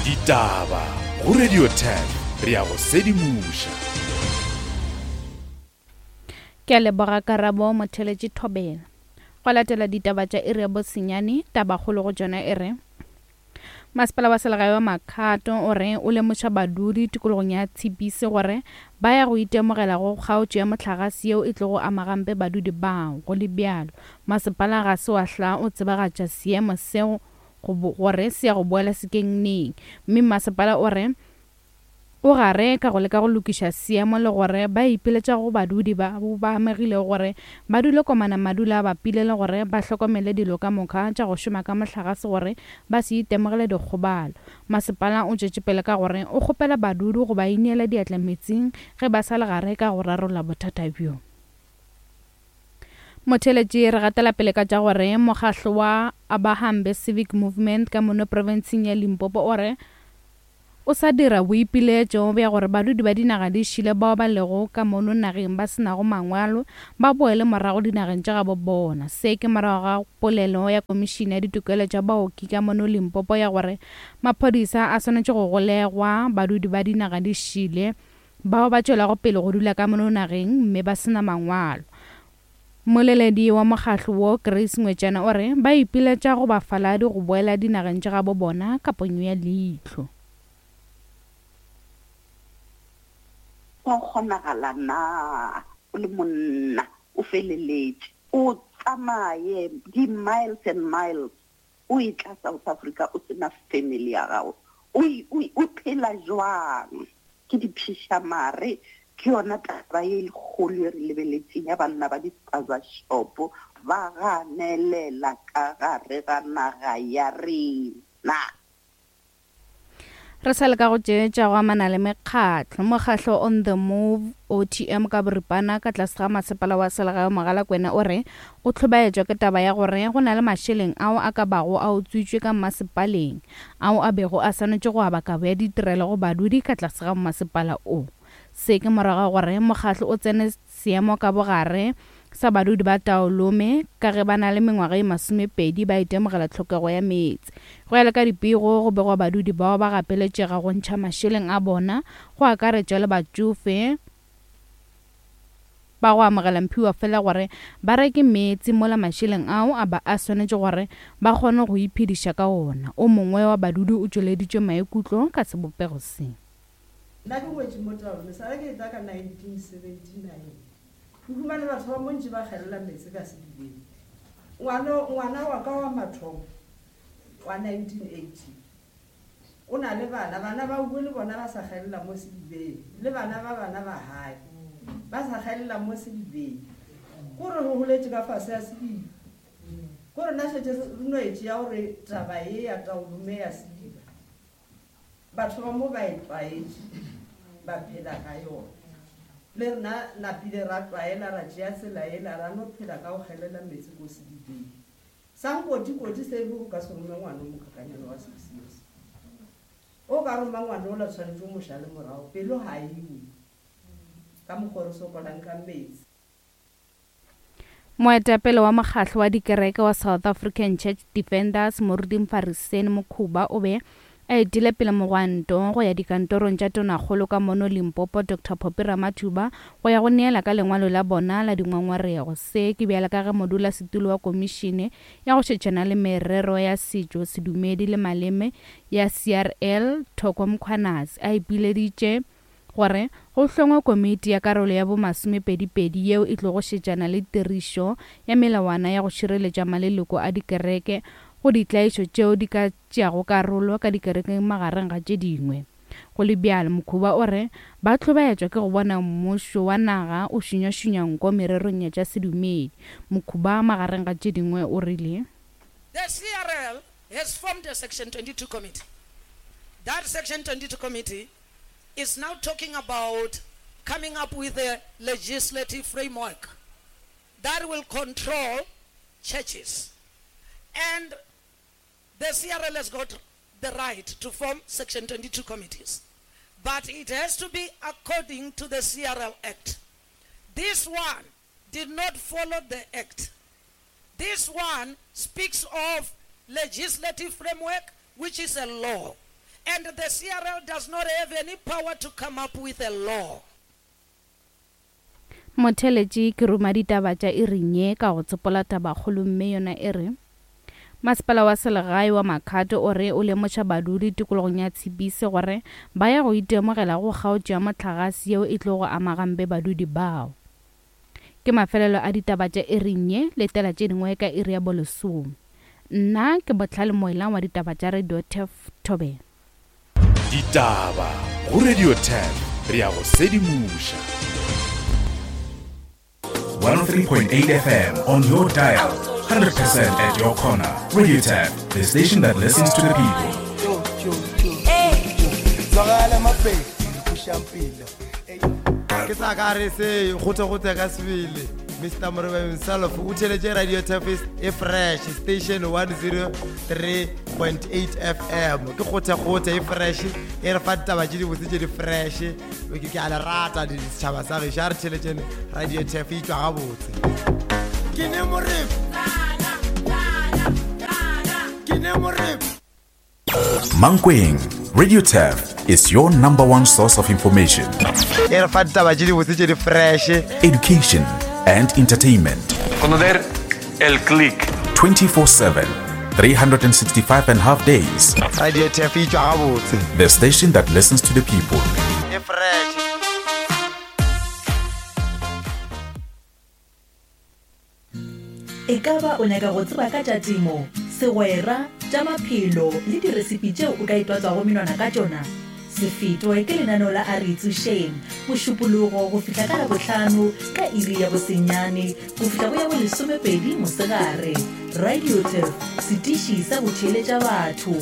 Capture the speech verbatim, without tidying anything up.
Ditaba go Radio ten re ya go sedimoša. Ke a leboga Karabo Motheletši Thobela. Go latela ditaba tša iri ya bosenyane, tabakgolo go tšona e re Masepala wa selegae wa Makhado o re o lemoša badudi tikologong ya Tshipise gore ba ya go itemogela go kgaotšo ya mohlagase yeo e tlogo ama gampe badudi bao. Go le bjalo, masepala ga se wa hla o tsebagatša seemo seo gore se ya go boela sekeng neng, mme masepala o re o gare ka go leka go lokiša seemo le gore ba ipiletša go badudi ba ba amegilego gore ba dule komana madula a bapile le gore ba hlokomele dilo ka moka tša go šoma ka mohlagase gore ba se itemogele dikgobalo. Masepala o tšwetše pele ka gore o kgopela badudi go ba ineela diatla metsing ge ba sa le gare ka go rarolla bothata bjo. Motheletši re gatela pele ka tša gore mokgahlo wa Abahambe Civic Movement ka mono profenseng ya Limpopo o re o sa dira boipiletšo bja gore badudi ba dinaga di šile bao ba lego ka mono nageng ba se nago mangwalo ba boele morago dinageng tša gabo bona. Se ke morago ga polelo ya komišene ya ditokelo tša baoki ka mono Limpopo ya gore maphodisa a swanetše go golegwa badudi ba dinaga di šile bao ba tšwelago pele go dula ka mono nageng mme ba se na mangwalo. Moleledi wa mokgahlo wo Grace Ngwetšana o re ba ipiletša go bafaladi go boela dinageng tša gabo bona ka ponyo ya leihlo. Go kgonagala na o le monna o feleletše o tsamaye di-miles and miles o e tla South Africa o sena family ya gago, o phela jwang? Ke diphišamare, ke yona taba ye kgolo e re lebeletseng ya banna ba di-spaza shop ba ganelela ka gare ga naga ya rena. Re sa leka go tšeetša go amana le mekgatlo. Mokgatlo On The Move O T M ka boripana ka tlase ga masepala wa selegae Mogalakwena o re o hlobaetšwa ke taba ya gore go na le mašeleng ao a ka bago a utswitšwe ka masepaleng ao a bego a swanetše go aba kabo ya ditirelo go badudi ka tlase ga masepala o. Se ke morago gore mokgatlo o tsene seemo ka bogare sa badudi ba Taolome ka ge ba na le mengwaga e masomepedi ba itemogela tlhokego ya meetse. Go ya le ka dipego go begwa badudi bao ba gapeletšega go ntšha mašeleng a bona go akaretša le batšofe ba go amogela mphiwa fela gore ba reke meetse mola mašeleng ao a ba a swanetše gore ba kgone go iphediša ka ona. O mongwe wa badudi o tšweleditše maikutlo ka sebopego se. Nna ke ngwetše mo Taolome, sale ke etla ka nineteen seventy-nine. Ke humane batho ba montši ba kgelela meetse ka sedibeng. Ngwana, ngwana wa ka wa mathomo wa nineteen eighty o na le bana, bana ba bue le bona ba sa kgelela mo sedibeng, le bana ba bana ba hae ba sa kgelela mo sedibeng. Kore re holetše ka fase ya sediba, kore nna šetše re no e tšea gore taba ye ya Taolome ya sediba batho ba mo ba e tlwaetše, ba phela ka yona. Le rena napile ra tlwaela ra tšea tsela ela ra no phela ka go kgelela meetse ko sedibeng. Sa nkotikoti se be o ka se rome ngwana o mokakanyana wa six years, o ka roma ngwana ola tshwanetse o mo šale morago, pelo ga e we ka mokgwa o re sokolang ka metsi. Moetapele wa mokgatlo wa dikereke wa South African Church Defenders Moruti Mfariseni Mokhuba o be a etile pele mogwanto go ya dikantorong tša tonakgolo ka mono Limpopo Doctor Phophi Ramathuba go ya go neela ka lengwalo la bona la dingongorego. Se ke bjala ka ge modulasetulo wa komišene ya go šetšana le merero ya setšo, sedumedi le maleme ya C R L Thoko Mkhwanazi a ipileditše gore go hlongwe komiti ya karolo ya bomasomepedipedi yeo e tlogo šetšana le tirišo ya melawana ya go šireletša maleloko a dikereke go ditlaišo tšeo di ka tšeago karolo ka dikerekeng magareng ga tše dingwe. Go le bjalo, Mokhuba o re ba hlobaetšwa ke go bona mmušo wa naga o šunyašunya nko mererong ya tša sedumedi. Mokhuba magareng ga tše dingwe o rile The C R L has formed a Section twenty-two committee. That Section twenty-two committee is now talking about coming up with a legislative framework that will control churches. And the C R L has got the right to form Section twenty-two committees. But it has to be according to the C R L Act. This one did not follow the Act. This one speaks of legislative framework, which is a law. And the C R L does not have any power to come up with a law. Motheletši ke ruma ditaba tša iring ye ka go tsopola tabakgolo mme yona e re Masepala wa selegae wa Makhado o re o lemoša badudi tikologong ya Tshipise gore ba ya go itemogela go kgaotšo ya mohlagase yeo e tlogo ama gampe badudi bao. Ke mafelelo a ditaba tša iring ye, letela tše dingwe ka iri ya bolesome. Nna ke Bohlale Moelang wa ditaba tša Radio Turf Thobela. Ditaba go Radio Turf, re ya go sedimoša. one oh three point eight F M on your dial, one hundred percent at your corner. Radio Turf, the station that listens to the people. Ke sa ka re se gote-gote ka sebele. Mister Morebe himself o theletše Radio Turf e fresh station one oh three point eight F M. Ke gote-gote e fresh e re fa ditaba tše dibotse tše di fresh. Ke ke a le rata ditšhaba sa gešo, a re theletšeng Radio Turf e tšwa gabotse. Ke ne Morebe. Ke ne Morebe. Mankweng, Radio Turf is your number one source of information. E re fa ditaba tše dibotse tše di fresh. Education and entertainment. Conocer el click. twenty-four seven, three hundred sixty-five and a half days. Radio Turf e tšwa gabotse. The station that listens to the people. E fresh. E ka ba o nyaka go tseba ka tša temo, segwera, tša maphelo le diresipi tšeo o ka itwatswago menwana ka tšona? Se fetwe ke lenaneo la A Re Itsošeng, Mošupologo go fihla ka Labohlano ka iri ya bosenyane go fihla go ya bolesomepedi mosegare. Radio Turf, setiši sa go theeletša batho.